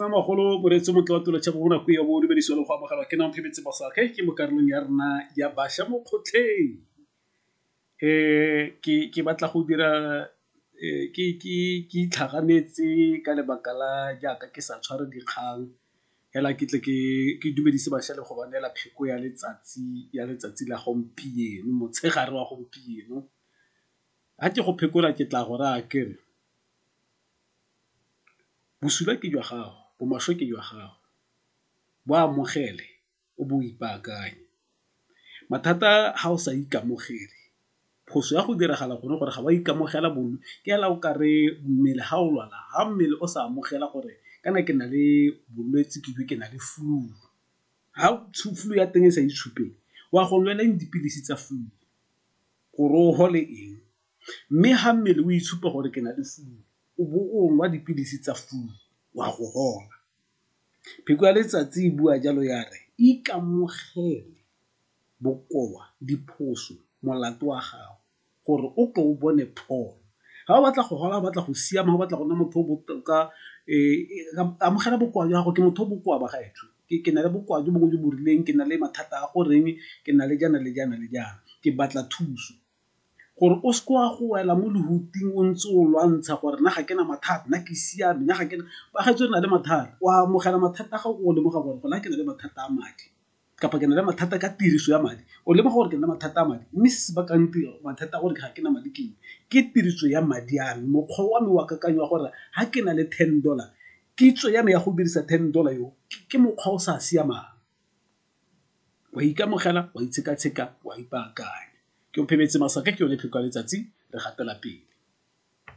Magolo moreetsi o montle wa tulo tšhabo mo nako ya bo dumedisiwa le go amogelwa ke nang Phemetse Mosake ke mo karolong ya rona ya bašwa mo kgotlheng. Ke batla go dira ke itlhaganetse ka lebaka la jaaka ke sa tshware dikgang fela ke tle ke dumedise bašwa le go ba neela pheko ya letsatsi la gompieno, motshegare wa gompieno. Ga ke go phekola ke tla go raya ke re bosula ke jwa gago, bomaswe ke jwa gago, bo amogele o bo o ipaakanye. Mathata ga o sa ikamogele, phoso ya go diragala gone gore ga o a ikamogela ke fela o kare mmele ga o lwala, ga mmele o sa amogela gore kana ke na le bolwetse ke na le flu, ga flu ya teng e sa itshupe o a go nwela eng dipilisi tsa flu, gore o fole eng? Mme ga mmele o itshupa gore ke na le flu o bo o nwa dipilisi tsa flu o a go fola. Pheko ya letsatsi e bua jalo ya re ikamogele bokoa, diphoso, molato wa gago gore o tle o bone pholo. Ga o batla go fola, o batla go siama, o batla go nna motho o botoka amogela bokoa jwa gago, ke motho o bokoa bagaetsho, ke na le bokoa jo bongwe jo bo rileng, ke na le mathata a goreng, ke na le jaana le jaana le jaana, ke batla thuso. Gore o seke wa go wela mo lehuting o ntse o lwantsha gore nna ga ke na mathata, nna ke siame, nna ga ke na, bagaetsho re na le mathata, o amogela mathata a gago o lemoga gore gona ke na le mathata a madi kapa ke na le mathata ka tiriso ya madi, o lemoga gore ke na le mathata a madi mme se se bakang mathata a gore ga ke na madi ke eng, ke tiriso ya madi a me, mokgwa wa me wa kakanyo wa gore ga ke na le ten dollar kitso ya me ya go dirisa ten dollar eo ke mokgwa o sa siamang. O a ikamogela, o a itsheka-tsheka, o a ipaakanya. Ke Omphemetse Masaka ke yone pheko ya letsatsi re gatela pele.